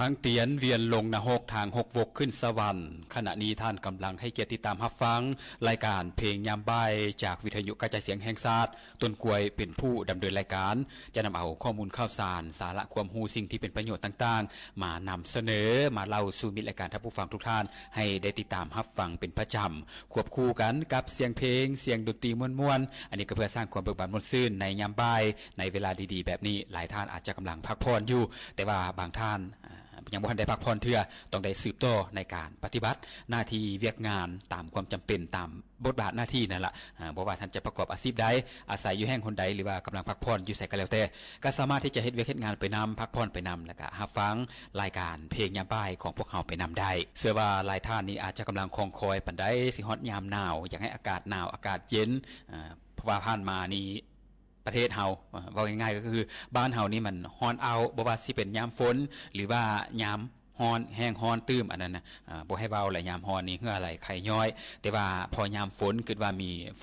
ທາງຕຽນວຽນລົງນະຮົກ ທາງຫົກວົກຂຶ້ນສະຫວັນ. ຂະນະນີ້ທ່ານກຳລັງໃຫ້ກຽດຕິດຕາມຮັບຟັງລາຍການເພງຍາມບ່າຍ ຈາກວິທະຍຸກະຈາຍສຽງແຫ່ງຊາດ, ຕົ້ນກ້ວຍເປັນຜູ້ດຳເນີນລາຍການ, ຈະນຳເອົາຂໍ້ມູນຂ່າວສານ, ສາລະຄວາມຮູ້, ສິ່ງທີ່ເປັນປະໂຫຍດຕ່າງໆ ມານຳສະເໜີ, ມາເລົ່າສູ່ມິດລາຍການທ່ານຜູ້ຟັງທຸກທ່ານ ໃຫ້ໄດ້ຕິດຕາມຮັບຟັງເປັນປະຈຳ, ຄວບຄູ່ກັນກັບສຽງເພງ, ສຽງດົນຕີມ່ວນໆ. ອັນນີ້ກໍເພື່ອສ້າງຄວາມເບີກບານມ່ວນຊື່ນໃນຍາມບ່າຍ, ໃນເວລາດີໆແບບນີ້. ຫຼາຍທ່ານອາດຈະກຳລັງພັກຜ່ອນຢູ່, ແຕ່ວ່າບາງທ່ານ ອາ ຍັງບໍ່ທັນໄດ້ພັກຜ່ອນເທື່ອ, ຕ້ອງໄດ້ສືບຕໍ່ໃນການປະຕິບັດໜ້າທີ່ວຽກງານຕາມຄວາມຈຳເປັນ, ຕາມບົດບາດໜ້າທີ່ນັ້ນລະ. ອາ ບໍ່ວ່າທ່ານຈະປະກອບອາຊີບໃດ, ອາໄສຢູ່ແຫ່ງຫົນໃດ ຫຼືວ່າກຳລັງພັກຜ່ອນຢູ່ໃສກໍແລ້ວແຕ່, ກໍສາມາດທີ່ຈະເຮັດວຽກເຮັດງານໄປນຳ, ພັກຜ່ອນໄປນຳ, ແລ້ວກໍຮັບຟັງລາຍການເພງຍາມບ່າຍຂອງພວກເຮົາໄປນຳໄດ້. ເຊື່ອວ່າຫຼາຍທ່ານນີ້ອາດຈະກຳລັງຄອງຄອຍປານໃດ ຊິຮອດຍາມໜາວ, ຢາກໃຫ້ອາກາດໜາວ, ອາກາດເຢັນ, ອາ ເພາະວ່າຜ່ານມານີ້ ປະເທດເຮົາ ເວົ້າງ່າຍໆກໍຄືບ້ານເຮົານີ້ມັນຮ້ອນອ້າວ, ບໍ່ວ່າຊິເປັນຍາມຝົນ ຫຼືວ່າຍາມຮ້ອນ, ແຫ້ງຮ້ອນຕື່ມ, ອັນນັ້ນນະ ອາ ບໍ່ໃຫ້ເວົ້າແຫຼະ. ຍາມຮ້ອນນີ້ເຫື່ອໄຫຼໄຂ້ຍ້ອຍ, ແຕ່ວ່າພໍຍາມຝົນ ຄິດວ່າມີ